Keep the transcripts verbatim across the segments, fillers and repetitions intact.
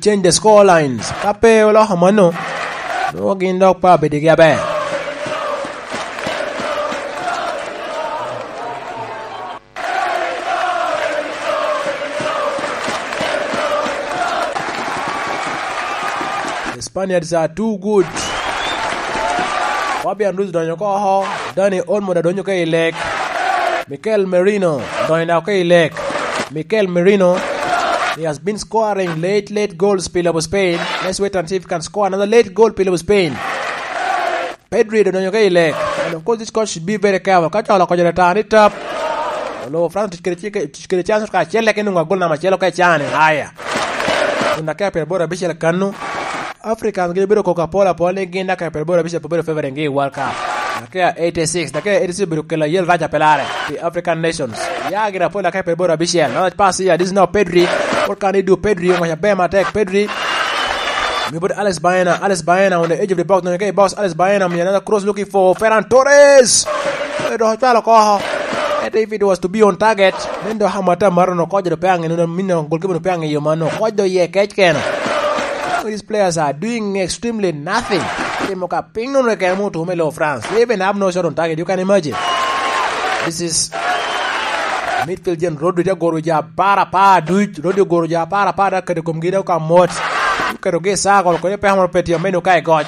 change the score lines. Ka pe oloko mano, nwoŋo gin dok pe abedigi aber. The Spaniards are too good. Fabian Ruiz donyo oko. Dani Olmo da donyo ka i lek. Mikel Merino donyo da oko i lek. Mikel Merino, he has been scoring late, late goals pi lobo Spain. Let's wait and see if he can score another late goal pi lobo Spain. Pedri do donyo ka i lek. And of course, this coach should be very careful. Ka colo koco leta ni tap. Olo France tic kede cik, tic kede chance ka acel lek inungo agol nama acel ka icane. Haya. Kun dakika pyeraboro abicel kanu. Africans gi bedo koko apol apol ni gin dakika pyeraboro abicel pe bedo favoring gi i World Cup. Dakika eighty-six, dakika eighty-six bedo kelo ayel raca pelare. The African nations. Ya gin apol dakika pyeraboro abicel. Now pass here, this is now Pedri. What can he do? Pedri, ngwac aber matek. Pedri. Mi bot Alex Baena, Alex Baena on the edge of the box, nonyo ka i box, Alex Baena, mi another cross looking for Ferran Torres. Edo cwalo oko. And if it was to be on target, then do hamata maro no kojo do pe ange no, min no goalkeeper no pe ange yo mano. Kojo ye kec keno. These players are doing extremely nothing. Timo ka ping no keno mo tume lo France. They even have no shot on target. You can imagine. This is midfield gen Rodri te goro ja apar apar duc. Rodri ogoro ja apar apar da kede komgi da ka mot. Oketo gi i circle, kodi pe amoro pe tye omedo ka i goc.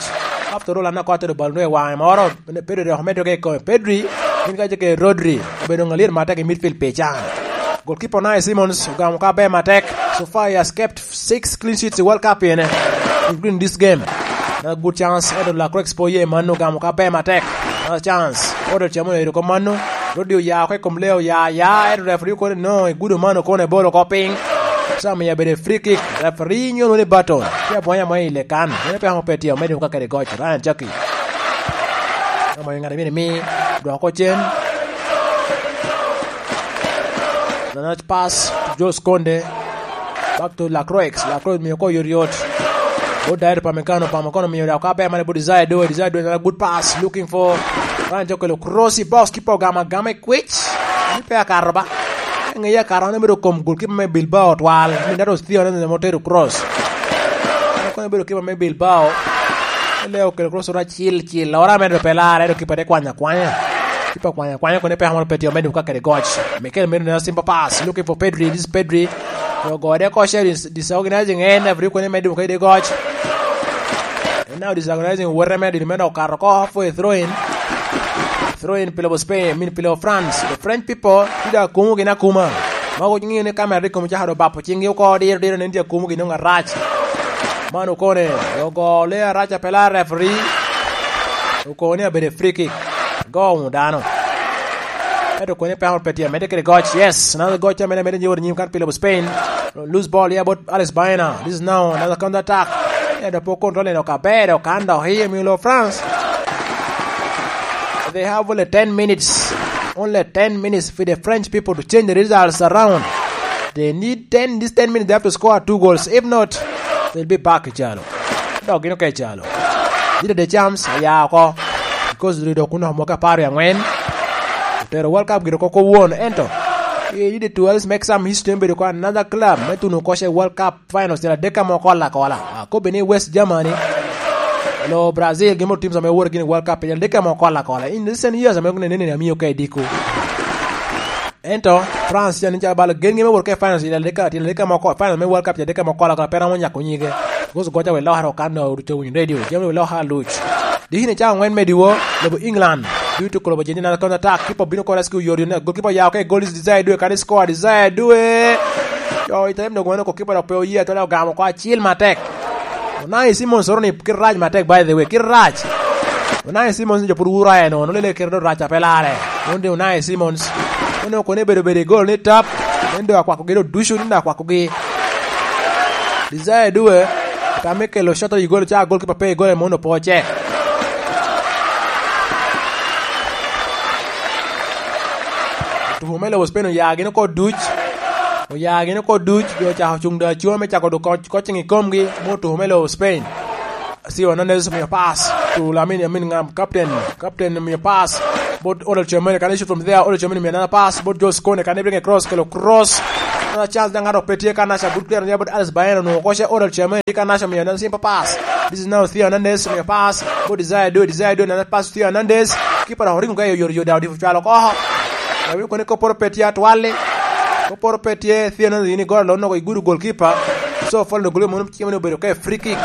After all, an akwa tedo bal nwe wange moro. Pedri dok omedo ka i kome. Pedri, in ka ke Rodri, obedo ŋalir matek i midfield pi can. Goalkeeper Unai Simons ogamo ka ber matek. So far he has kept six clean sheets i World Cup ene, including this game. Na good chance, eto Lacroix po ye man ogamo ka ber matek. Na chance, odo chamo edo ko mano. Rodri oya oko i kom lee, oya, ya, eto referee kono no, igudo mano kono ebolo ko piny. Sa miya bede free kick, referee nyo ni baton. Pia bwanya mo i lekan. Mene pe amo pe tye, omedo ka kede goc. Ryan Jackie. Ama ŋat a myero imi dwoko cen. Nanach pass to Jules Kounde. Back to Lacroix. Lacroix miyo ko yot yot. Bot Dyer Upamecano, Upamecano miyo dok ka ber mane bot Desire Doe. Desire Doe, another good pass. Looking for Ryan Jackie, okelo cross i box, keeper ogamo agama i kwic. Ni pe akato ba. Ŋeye akato, an obedo kom goalkeeper me Bilbao twal. Min dato Theo ne mo tero cross. An kono obedo keeper me Bilbao. Leo okelo cross ora cil cil. Ora medo pe lara, edo keeper te kwanya kwanya. Keeper kwanya kwanya, kono pe amoro pe tye, omedo ka kede goc. Mikel Merino, simple pass. Looking for Pedri. This is Pedri. Yo gode ko share dis-, disorganizing en, every kono medo ka kede goc. And now disorganizing, where medo, medo okato ko for a throw in. Throw in pi lobo Spain, I mean, pi lobo France. The French people, tye da kumo gin akuma. Ma ok ŋeyo ni kamera rik kom caka do bapo cinggi oko diro diro, nen tye akumo gin nongo arac. Man okone, ogo le arac a pela referee. Okone abedo free kick. Go wunu dano. Ento okone pe amor pe tye, medde kede goc. Yes, another goc a medde, medde nyewor nyim kan pi lobo Spain. Lose ball here about Alex Baena. This is now another counter attack. Ento po control eno kabedo kan dok iye milo France. They have only ten minutes. Only ten minutes for the French people to change the results around. They need ten, these ten minutes, they have to score two goals. If not, they'll be back i calo. Dok gin oke i calo. Dita de Champs, oya oko. Because dok kun omo ka paro angwen. Otero World Cup giro koko won. Ento, you need to always make some history, bedo ko another club me tuno koshe World Cup finals, tyen adek amo kola kola. Akobe ni West Germany, lo Brazil, gin mo teams ame woro gini World Cup, tyen adek amo kola kola. In recent years, ame ne, ne, ne, amiyo ka ediko. Ento, France, tyen ni calo balo, gen gi me woro ke finals, tyen adek, tyen adek amo ko-, finals me World Cup, tyen adek amo kola kola, pe ramo nyako nyige. Because goca we loka ro kan no, to win radio, jam we loka luch. Di hine ca angwen me diwo, lobo England. Due to kolobo jeni na counter attack, kipa bino ko rescue yori ne. Goalkeeper yao ke goal is Desire Due, kan score Desire Due. Yo, item no gweno ko kipa dok pe oye, to le ogamo ko acil matek. Unai Simons oro ni kit rac matek, by the way, kit rac. Unai Simons ni jo pud wura en, ono lele kit do rac a pe lare. Onde Unai Simons. Ono kone bedo bedo i goal ni tap. Endo akwako gi do ducu ni akwako gi. Desire Due, ka me kelo shot i gol, ca gol kipa pe i gol, mono po oce. Tuko me lobo Spain oya gin oko duc. Oya gin oko duc, jo ocako cung da acunga me cako do coach, coaching i komgi, mo tuko me lobo Spain. Theo Hernandez omiyo pass to Lamine, I mean, ngam, captain. Captain omiyo pass. But Oriol Tchouameni, can he shoot from there? Oriol Tchouameni omiyo another pass. But Jules Kounde, can he bring a cross? Kelo cross. Another chance daŋ ŋat pe tye ka naca, good clearance ya bot Alex Baena, onwoŋo koce Oral Chairman tye ka naca, omiyo another simple pass. This is now Theo Hernandez, omiyo pass bot Desire Doe, Desire Doe, another pass to Theo Hernandez. Keeper oringo ka i oyotoyot, daŋ odifo cwalo oko. Daŋ weko ni kopporo pe tye atwal-li. Kopporo pe tye, Theo Hernandez ni goro lonno oko i gudo goalkeeper. So, foul goalkeeper mono cimo ni obedo ka i free kick.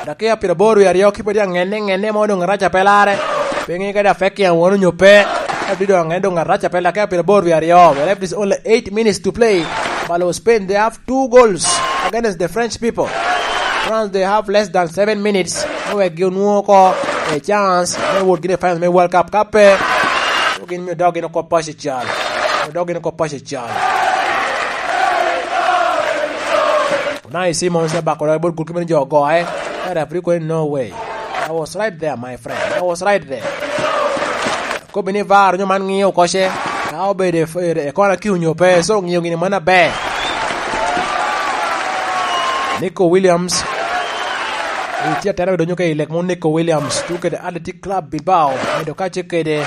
Dakika pyeraboro wie aryo, keeper tye aŋenne, ŋenne mo doŋ araca pe larre. Pe ŋe kadi affect ya won onyo pe. Ka bino doŋ aŋenne doŋ araca pe larre, dakika pyeraboro wie aryo. We left is only eight minutes to play. But Spain, they have two goals against the French people. France, they have less than seven minutes. Me wek gi onwoŋo oko a chance me wot gini i finals me World Cup. Ka pe, gin mio dog gin oko paco cal. Mio dog gin oko paco cal. Unai Simons te bako dog bot goalkeeper ni jo ogoye. Ka referee koni, "No way." I was right there, my friend. I was right there. Kobbi ni VAR onyo man ŋiyo koce. Ka obedo e, e, e kona ki onyo pe, so ŋiyo gini mano aber. Nico Williams. Itye atera donyo ka i lek mo Nico Williams. Tuke de Athletic Club Bilbao. Medo kace kede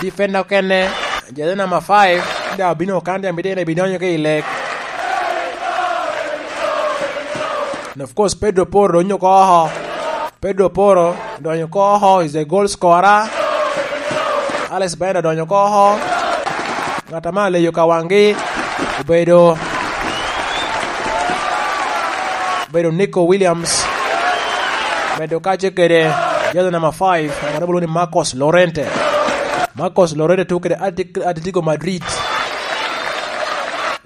defender okene. Jezi number five, da obino kan, da bidene bidonyo ka i lek. And of course, Pedro Porro donyo oko oko. Pedro Porro donyo oko oko, is a goal scorer. Alex Baena donyo oko oko. Ŋat ame aleyo ka waŋgi obedo, obedo Nico Williams. Medo kace kede jezi number five, ŋat ame lwongo ni Marcos Llorente. Marcos Llorente tuko kede Atlet-, Atletico Madrid.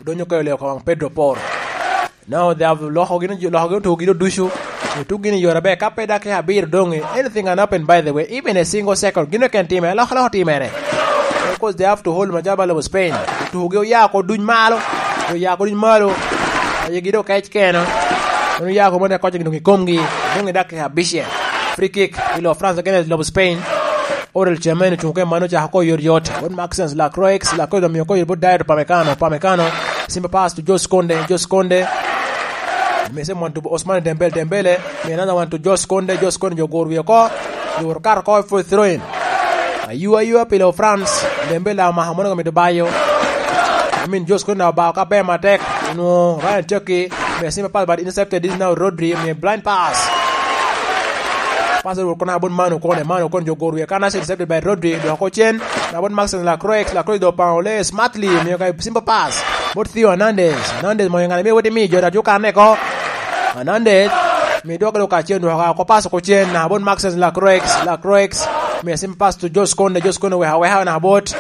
Odonyo ka i leyo ka waŋ Pedro Porro. Now they have loko gin, loko gin otuko gin oducu. Otuko gin i yore aber. Ka pe dakika abiro doŋ, anything can happen, by the way. Even a single second. Gin keken time. Loko, loko timere. Of course, they have to hold macalo balo Spain. Otuko gi oya ko duny malo. Oya ko duny malo. Aye gi do kec keno. Mano oya ko mane koc doŋ i komgi. Doŋ i dakika abicel. Free kick. I lo France against lo Spain. Oral Chairman ocung ke mano, ocako ko yot yot. Bot Maxence Lacroix, Lacroix omiyo ko yot bot Dayot Upamecano, Upamecano. Simple pass to Jules Kounde, Jules Kounde. Mese mwan to Ousmane Dembele, Dembele. Mi another one to Jules Kounde, Jules Kounde jo goro wie oko. Lworo kato oko for throw in. Ayua, ayua pilo France. Dembele omako mono ka mito bayo. I mean, Jules Kounde obao ka ber matek. Onwoŋo Ryan Cherki. Mi simple pass but intercepted, this now Rodri. Mi blind pass. Pass rwot kono abon Manu kone, Manu kone jo goro wie kan, intercepted by Rodri, dok oko cen. Abon Maxence Lacroix, Lacroix do paŋo le smartly, miyo ka simple pass. Bot Theo Hernandez, Hernandez moyo ŋane, miyo wot imi jo da jo kan eko. Hernandez, mi dwoko lo ka cen, dwoko oko pass oko cen, na abon Maxence Lacroix, Lacroix, miyo simple pass to Jules Kounde, Jules Kounde weka weka na bot.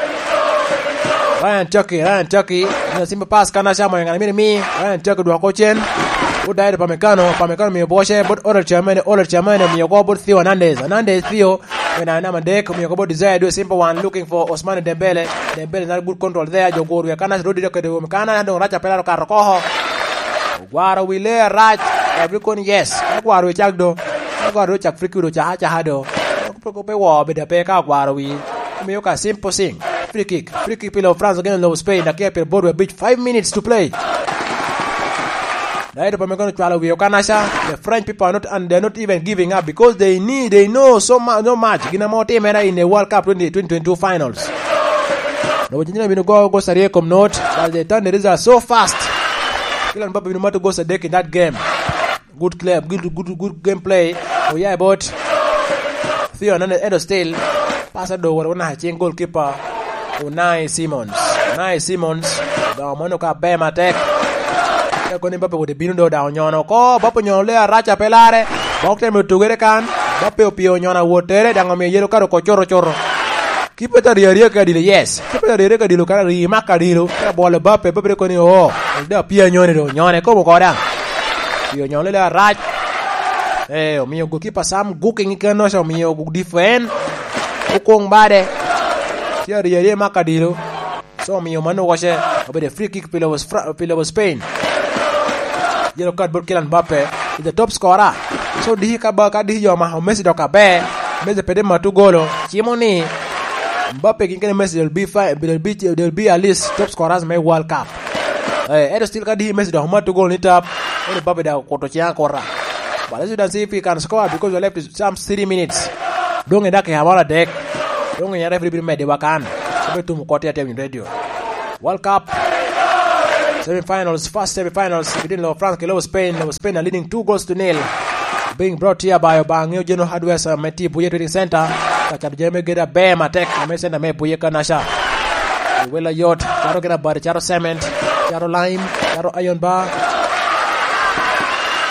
Ryan Cherki, Ryan Cherki, miyo simple pass kan aca moyo ŋane, miyo imi, Ryan Cherki dwoko oko cen. Bot Dayot Upamecano, Upamecano miyo bwoce, bot Oral Chairman, Oral Chairman miyo oko bot Theo Hernandez, Hernandez Theo, me namba adek, omiyo oko bot Desire Doe, simple one, looking for Ousmane Dembele. Dembele not good control there, jo goro wie kan, Rodri dok kede wome kan, doŋ rac apelaro kato oko. Ogwaro wi le arac, every kon, yes. Ogwaro wi cak do. Ogwaro wi cak, free kick do, caka, caka do. Pe, pe wo, bedo pe ka ogwaro wi. Omiyo ka simple thing. Free kick. Free kick pilo France against lo Spain, dakika piro boro abic, five minutes to play. Dayot Upamecano cwalo wie oko anaca. The French people are not, and they're not even giving up because they need, they know so mu-, so much. Gin ame otimere in the World Cup twenty, twenty twenty-two finals. Lobo Argentina bino go goal aryo i kom not, but they turn the result so fast. Kylian Mbappe bino mato goal adek in that game. Good club, good, good, good gameplay. Oya i bot Theo Hernandez, Edo still. Pass ado woro naka cing goalkeeper. Unai Simons. Unai Simons. Doŋ mano ka ber matek. Ka koni Mbappe wode bino do daŋ onyono oko. Mbappe onyono le araca pe lare. Bok temo tugere kan. Mbappe opio onyono awottere daŋ omiyo yelo kare oko coto coto. Kipe ta ri arye ka dilo, yes. Kipe ta ri arye ka dilo, kara ri mak ka dilo. Kara bwolo Mbappe, Mbappe koni, "Oh, da pia nyone do, nyone kobo koda." Pio nyone le arac. Eh, omiyo goalkeeper Sam Gukking keno, omiyo defend. Okong bade. Tye ri arye mak ka dilo. So, omiyo mano wace, obedo free kick pi lobo Fra-, pi lobo Spain. Yellow card bot Kylian Mbappe, is the top scorer. So, diki ka ba, ka diki jo omako Messi dok aber, Messi pede matu golo. Cimo ni, Mbappe gin kene Messi, they'll be fi-, they'll be, they'll be at least top scorers me World Cup. Eh, ento still ka diki Messi dok matu golo ni tap, ento Mbappe dok okuto cing akuta. But as you can see, if he can score because we left some three minutes. Doŋ i dakika moro adek. Doŋ i referee bino medde wa kan. Obe tum koti atem in radio. World Cup. Semifinals, first semifinals between lobo France ki lobo Spain. Lobo Spain are leading two goals to nil. Being brought here by Obaŋeo General Hardware, uh, me tye Buye Trading Center. Ka cato jami me gedo aber matek, ame center me Buye Kanasha. Wela yot, cato gin abati, cato cement, cato lime, cato iron bar,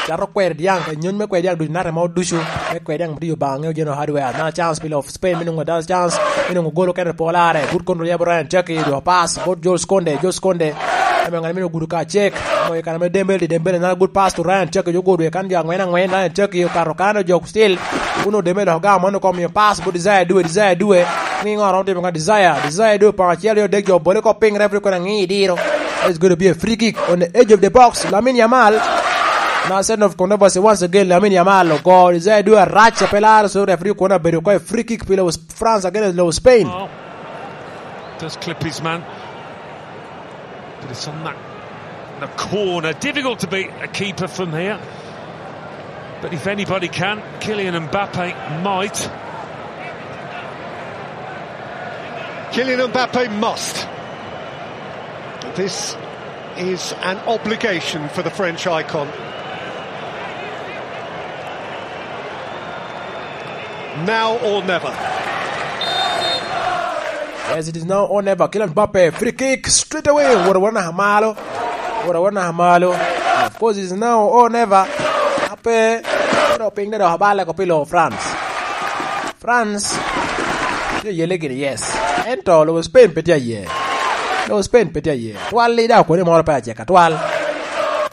cato kweri dyaŋ, ka nyony me kweri dyaŋ ducu, nat amo ducu, me kweri dyaŋ bitiyo Obaŋeo General Hardware. Another chance pi lobo Spain, me nwoŋo another chance, me nwoŋo gol okene pol are. Good control ya bot Ryan Cherki, dwoko pass bot Jules Kounde, Jules Kounde. Ame ŋat mino gudo ka cek, moyo kan ame Dembele, Dembele, another good pass to Ryan Cherki, jo gudo kan jo aŋwen aŋwen, Ryan Cherki okato kan, jo still. Kuno Dembele dok ogamo mano, kom miyo pass bot Desire Due, Desire Due. Ŋiŋo romo timo ka Desire, Desire Due, pong acel, jo dek, jo bole ko piny, referee kono aŋi diro. It's going to be a free kick on the edge of the box. Lamine Yamal. Now, scene of controversy once again, Lamine Yamal ogo Desire Due arac, a pe laro, so referee kono abedo ko a free kick pi lobo France against lobo Spain. Oh, does clip his man. But it's on that, the corner. Difficult to beat a keeper from here. But if anybody can, Kylian Mbappe might. Kylian Mbappe must. This is an obligation for the French icon. Now or never. Yes, it is now or never. Kylian Mbappe, free kick, straight away. Woro, woro naka malo. Woro, woro naka malo. Of course, it is now or never. Ape, pero piny dok abale ko pi lobo France. France tye yelle gini, yes. Ento lobo Spain pe tye aye. Lobo Spain pe tye aye. Twal i da koni moro pe acek atwal.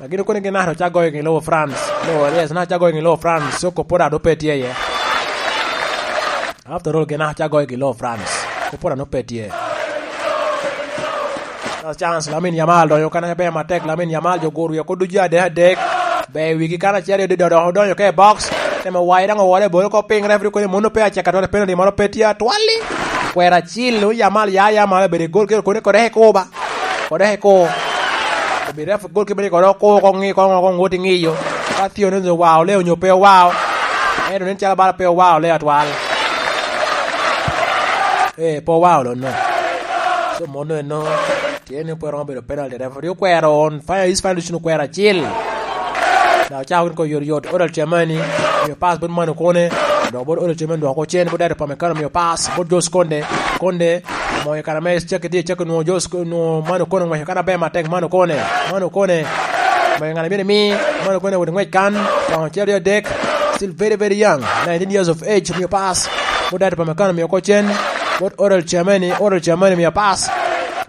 Lakin okoni gin naka ocak goyo gin lobo France. Lobo, yes, naka ocak goyo gin lobo France. So, kopora do pe tye aye. After all, gin naka ocak goyo gin lobo France. Kopora no pe tye. Last chance, Lamine Yamal donyo kan aber matek. Lamine Yamal jo guru yoko ducu adek adek. Be wigi kan acel yo dido dok odonyo ke box. Temo wayi daŋ owole bolo ko piny, referee koni mono pe acek atwal, penalty moro pe tye atwali. Kwera acil, o Yamal ya, Yamal obedo i gol, kero koni kode e kuba. Kode e ko. Obedo ref gol kibeni kode oko, ko ŋi, ko ŋo, ko ŋo ti ŋiyo. Ka thio ni owao le onyo pe owao. Ento nen calo bala pe owao le atwal. Eh, pe owao lo no. So mono eno. Tye ni pwero obedo penalty, referee okwero on fire, is fire, okwero acil. Da ocako gin ko yot yot, Odal Chamani, miyo pass bot Manu Kone, dok bot Odal Chamani dwoko cen, bot Dado Pamecano miyo pass, bot Jos Konde, Konde, moyo kan ame cakki tye, cakki nwo Jos, nwo Manu Kone, ngweco kan aber matek, Manu Kone, Manu Kone, moyo ngat a myero imi, Manu Kone wot ngwec kan, pong acel aryo adek, still very, very young, nineteen years of age, miyo pass, bot Dado Pamecano miyo ko cen, bot Odal Chamani, Odal Chamani miyo pass,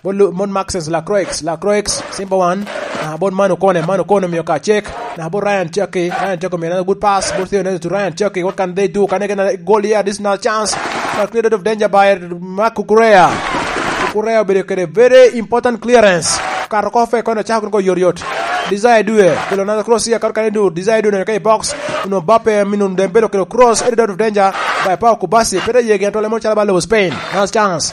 Bot Lu-, bot Maxence Lacroix, Lacroix, simple one. Ah, bot Manu Kone, Manu Kone omiyo ka cek. Na bot Ryan Cherki, Ryan Cherki omiyo another good pass. Bot Theo Hernandez to Ryan Cherki. What can they do? Can they get another goal here? This is another chance. A clear out of danger by Marc Cucurella. Cucurella obedo kede very important clearance. Kato ko fe kono chako ko yot yot. Desire Due, kelo another cross here, kato kane do. Desire Due oneno ka i box. Uno Mbappe, mino Dembele okelo cross, headed out of danger by Pau Kubasi. Pete yegi atwale mo calo ba lobo Spain. Last chance.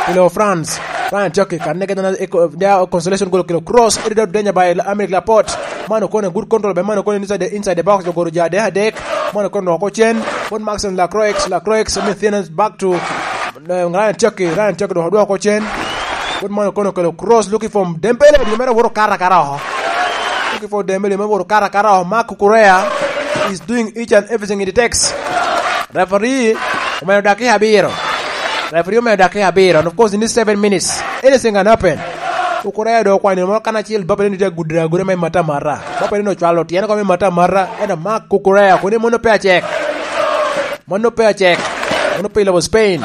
Pilo France. Ryan Cherki, kan nege dana, eko, their consolation goal kelo cross, headed out danger by Aymeric Laporte. Manu Kone, good control by Manu Kone inside the, inside the box, jogoro ja adek adek. Manu Kone dwoko cen, but Maxence Lacroix, Lacroix, Methena back to, uh, Ryan Cherki, Ryan Cherki dwoko, dwoko cen. But Manu Kone okelo cross, looking for Dembele, di mere woro kara kara oho. Looking for Dembele, mere woro kara kara oho. Marc Cucurella is doing each and everything it takes. Referee omedo dakika abiro. Referee omedo dakika abiro. And of course, in this seven minutes, anything can happen. Cucurella do okwanyo moro kan acel, Mbappe ni tye agudo aguda me mata mata. Mbappe ni ocwalo tyene ko me mata mata. Ento Marc Cucurella, koni mono pe acek. Mono pe acek. Mono pe i lobo Spain.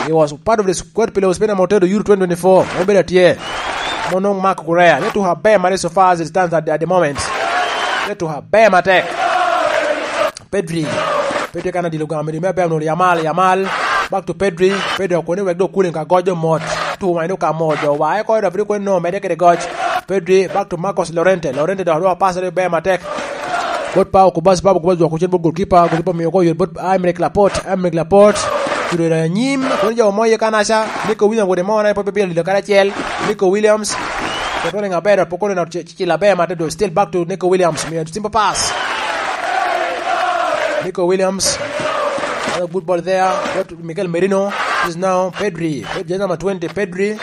He was part of the squad pi lobo Spain ame otero Euro twenty twenty-four. Mono bedo atye. Mono Marc Cucurella. Ne tuko aber mare so far as it stands at, at the moment. Ne tuko aber matek. Pedri. Pedri kan adilo gamo, me aber nwoŋo Yamal, Yamal. Back to Pedri. Pedri okone wek dok kuling ka goc omot. Tu wany dok ka mot. Jo wa eko referee kwen no mede kede goc. Pedri, back to Marcos Llorente. Llorente dok dwoko pass ber matek. Bot Pau Kubas, Pau Kubas dwoko cen bot goalkeeper, goalkeeper miyo ko yot bot Aymeric Laporte, Aymeric Laporte. Cudo i anyim, kono jo mo iye kanaca, Nico Williams wode mo na ipo pe bilo lilo karacel. Nico Williams. Controlling aber, poko no ci, ci, ci laber matek, still back to Nico Williams. Miyo simple pass. Nico Williams. Another good ball there. Got Mikel Merino. This is now Pedri. Jersey number twenty, Pedri.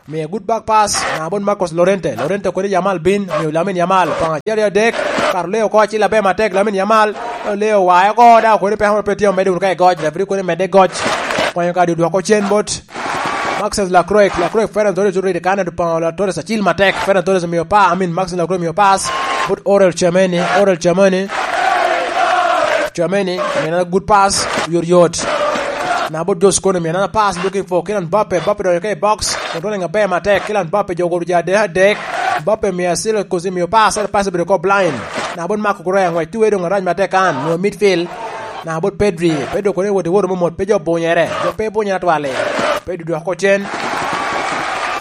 Miyo good back pass, na bot Marcos Llorente. Llorente kodi Yamal bin, miyo Lamine Yamal. Panga acel aryo adek, kar oleo oko acil aber matek, Lamine Yamal. Oleo wae oko, da kodi pe amoro pe tye omedde wunu ka i goc, referee kodi medde goc. Kwanyo ka dwoko cen bot Maxence Lacroix, Lacroix Ferran Torres oridi kan, Panga Torres acil matek, Ferran Torres miyo pa, I mean, Maxence Lacroix miyo pass bot Orel Tchouameni, Orel Tchouameni. Tchouameni, miyo na good pass, yot yot. Na bot Josh Kone, miyo na pass, looking for Kylian Mbappe, Mbappe donyo ka i box, controlling aber matek, Kylian Mbappe jo goro ja adek adek, Mbappe miyo acel kosi miyo pass, ento pass obedo ko blind. Na bot Marco Correa, ngwec tuwe dong arac matek kan, nwoŋo midfield. Na bot Pedri, Pedri okone wot i woro momot, pe jo bunyere, jo pe bunyere atwal-li. Pedri dwoko cen.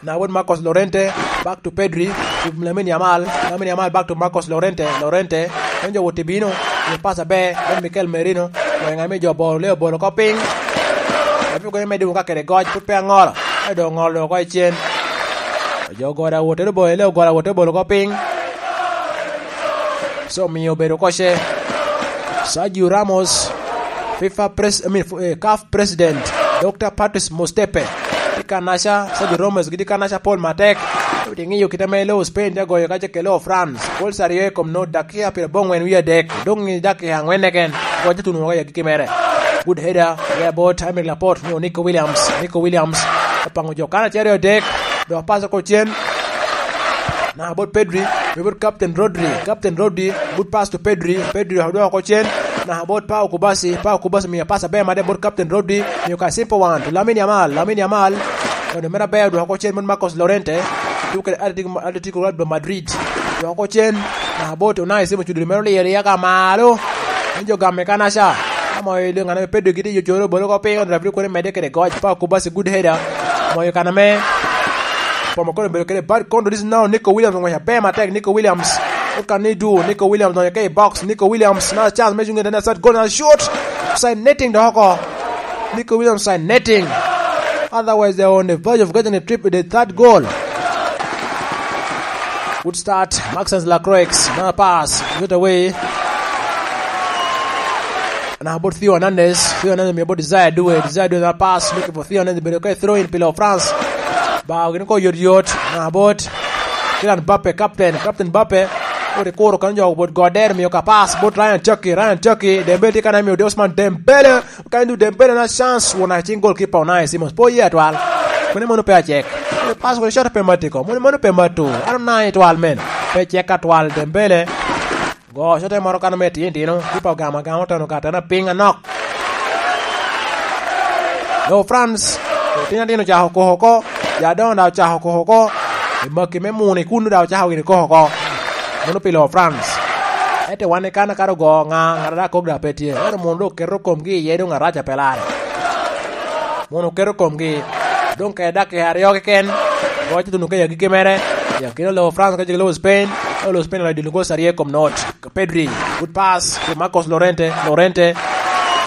Na bot Marcos Llorente, back to Pedri, to Lamine Yamal, Lamine Yamal back to Marcos Llorente, Llorente, en jo wot i bino, miyo pass aber, bot Mikel Merino, weng ame jo bolo, leo bolo oko piny. Api kone medde wun ka kede goc, put pe aŋolo, ayo dong oŋolo dong oko i cen. Jo goda wotere bolo, leo goda wotere bolo oko piny. So miyo obedo koce. Sergio Ramos, FIFA pres-, I mean, fu-, eh, CAF President, Doctor Patrice Motsepe, tye kanaca, Sergio Ramos gitye kanaca pol matek. Ewiti ŋiyo kite ame loo Spain te goyo kace ke loo France. Goals aryo i kom not, dakika pyerabongwen wie adek. Dong i dakika angwen keken, goc te tuno woko i agikki mere. Good header, yeah, bot Aymeric Laporte, nyo Nico Williams, Nico Williams, opango jo kan acel aryo adek, dok pass oko cen. Na bot Pedri, miyo bot Captain Rodri, Captain Rodri, good pass to Pedri, Pedri odwoko oko cen. Na bot Pau Kubasi, Pau Kubasi miyo pass aber made bot Captain Rodri, miyo ka simple one to Lamine Yamal, Lamine Yamal, ono mere aber odwoko oko cen bot Marcos Llorente, tuke Atletico, Atletico Club de Madrid, dwoko oko cen. Na bot Unai Simon, cuduri mere oliyo aliya ka malo, en jo game kanaca, amo i ŋana me Pedri gidi yo coro bolo ko piny, ono referee kone medde kede goc, Pau Kubasi good header, moyo kana me Pomo kono obedo kede bad kono, this now Nico Williams ong'wec aber matek, Nico Williams. What can he do? Nico Williams donyo ke i box, Nico Williams na chance me cungo i dene, shot, goal na shoot. Side netting dok oko. Nico Williams side netting. Otherwise, they are on the verge of getting a trip, the third goal. Good start, Maxence Lacroix, another pass, get away. Na bot Theo Hernandez, Theo Hernandez miyo bot Desire Due, Desire Due na pass, looking for Theo Hernandez, bedo ka throw in pilo France. Ba gini ko yot yot, na bot Kylian Mbappe, captain, captain Mbappe. Ori kuro kan jo bot Goder, miyo ka pass bot Ryan Cherki, Ryan Cherki, Dembele tye kan miyo Ousmane Dembele. Kan du Dembele na chance, won a cing goalkeeper Unai Simons, po ye atwal. Kone mono pe acek. Pass kone shot pe matiko, mono, mono pe matu. Ano na itwal men. Pe cek atwal Dembele. Go cote moro kan me tino tino, kipa ogamo agama oteno ka atena piny anok. Lo France, otino atino ocako koko oko, ja adoŋo daŋ ocako koko oko, i maki me muni kun daŋ ocako gini koko oko. Mano pi lo France. Ete wan i kan akato go ŋa, ŋat ada kok daŋ pe tye. Ero munu dok keto komgi iye dong araca pe lare. Mono oketo komgi. Dong kede dakika aryo keken, goc tuno ka i agikki mere. I akina lo France ka cik lo Spain, ka lo Spain oloyo dilo gol aryo i kom not. Ka Pedri, good pass to Marcos Llorente, Llorente.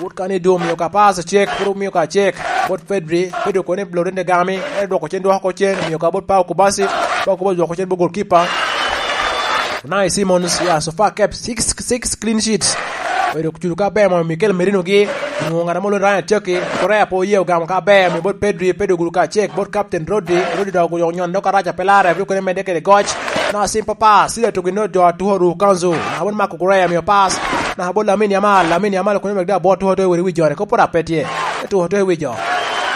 Good kan i dum, miyo ka pass cek, puro miyo ka cek. Bot Pedri, Pedri kone Llorente gami, en dwoko cen, dwoko cen, miyo ka bot Pau Kubasi, Pau Kubasi dwoko cen bot goalkeeper. Unai Simons, yeah, so far kept six, six clean sheets. Obedo culo ka ber moyo Mikel Merino gi, onwoŋo ŋat amo Ryan Cherki, Correa po oye ogamo ka ber, omiyo bot Pedri, Pedri ogudo ka cek, bot Captain Rodri, Rodri dok ogudo nyon dok araca pe lare, abiro kone medde kede goc. Na simple pass, sida tugi no jo atuko ru kanzu. Na bot Marco Correa miyo pass, na bot Lamine Yamal, Lamine Yamal kone medde abot tuko to i wi jone, kopo rap pe tye. Tuko to i wi jo.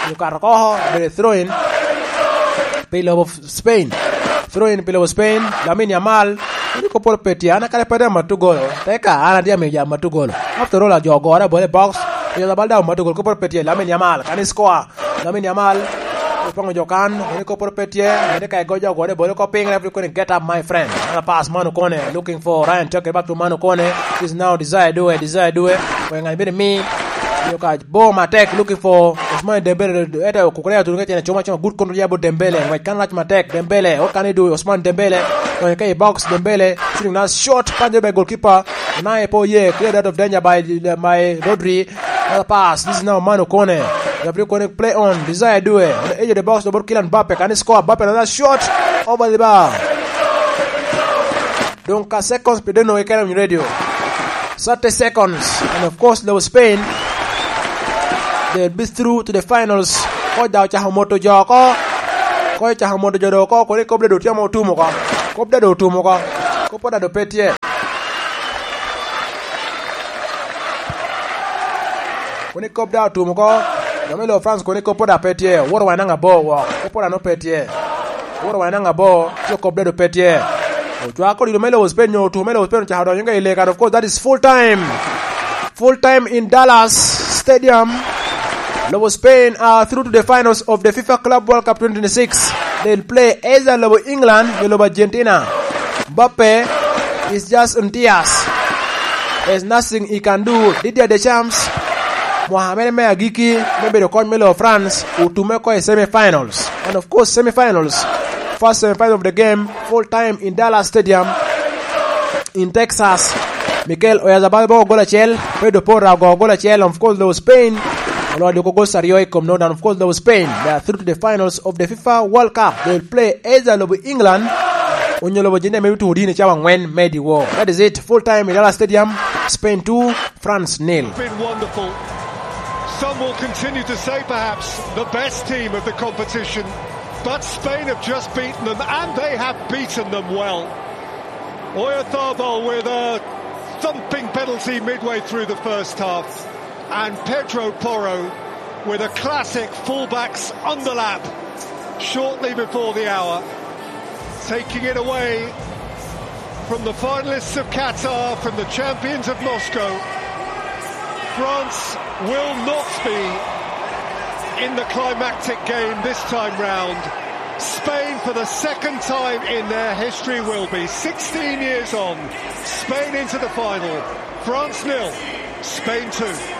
Okato oko, obedo throw in. Pi lobo Spain. Throw in pi lobo Spain, Lamine Yamal. Kodi kop pol pe tye, an akale pe dam matugolo. Teka, an atye amiyo jam matugolo. After all, ajo ogora bole box. Oyo labal dam matugolo, kop pol pe tye, Lamine Yamal. Kan i score, Lamine Yamal. Opongo jo kan, kodi kop pol pe tye. Mede ka igo jo ogore bole ko piny, referee koni, "Get up, my friend." Ana pass man okone, looking for Ryan Cherki, back to man okone. Is now Desire Due, Desire Due. Weng an bene mi. Yo ka bor matek, looking for Ousmane Dembele, ete okukuria tuno ka cene cuma cuma, good control ya bot Dembele, ngwec kan rac matek, Dembele, what can he do, Ousmane Dembele, donyo ka i box, Dembele, shooting na shot, panyo be goalkeeper, Unai po ye, cleared out of danger by, by Rodri, another pass, this is now Manu Kone, Gabriel Kone play on, Desire Due, on the edge of the box, the ball Kylian Mbappe, can he score, Mbappe another shot, over the bar. Dong ka seconds pi deno keken on radio. Thirty seconds. And of course, though Spain, they'll be through to the finals. Koc daŋ ocako moto jo oko. Koc ocako moto jo doŋ oko, kono i kop dado tye ame otum oko. Kop dado otum oko. Kop dado pe tye. Kono i kop dado otum oko. Jo me lobo France kono i kop dado pe tye. Owoto wa nanga bo wok. Kop dado pe tye. Owoto wa nanga bo. Tye kop dado pe tye. Ocwako dilo me lobo Spain nyo otum me lobo Spain ocako donyo ka i lega. And of course, that is full time. Full time in Dallas Stadium. Lobo Spain are through to the finals of the FIFA Club World Cup twenty twenty-six. They'll play either lobo England or lobo Argentina. Mbappe is just in tears. There's nothing he can do. Didier Deschamps, Mohamed me agiki, me bedo kony me lobo France, otume oko i semi-finals. And of course, semi-finals. First semi-final of the game, full time in Dallas Stadium. In Texas. Mikel Oyarzabal boko gol acel, Pedro Porro ogo gol acel, and of course, though Spain, oloyo doko goals aryo i kom note, and of course, though Spain, they are through to the finals of the FIFA World Cup. They will play either lobo England, onyo lobo Argentina, maybe to odini cawa angwen, maybe wo. That is it. Full time in Dallas Stadium, Spain two, France nil. Been wonderful. Some will continue to say perhaps the best team of the competition, but Spain have just beaten them, and they have beaten them well. Oyarzabal with a thumping penalty midway through the first half, and Pedro Porro with a classic fullback's underlap shortly before the hour, taking it away from the finalists of Qatar, from the champions of Moscow. France will not be in the climactic game this time round. Spain, for the second time in their history, will be. Sixteen years on, Spain into the final. France nil, Spain two.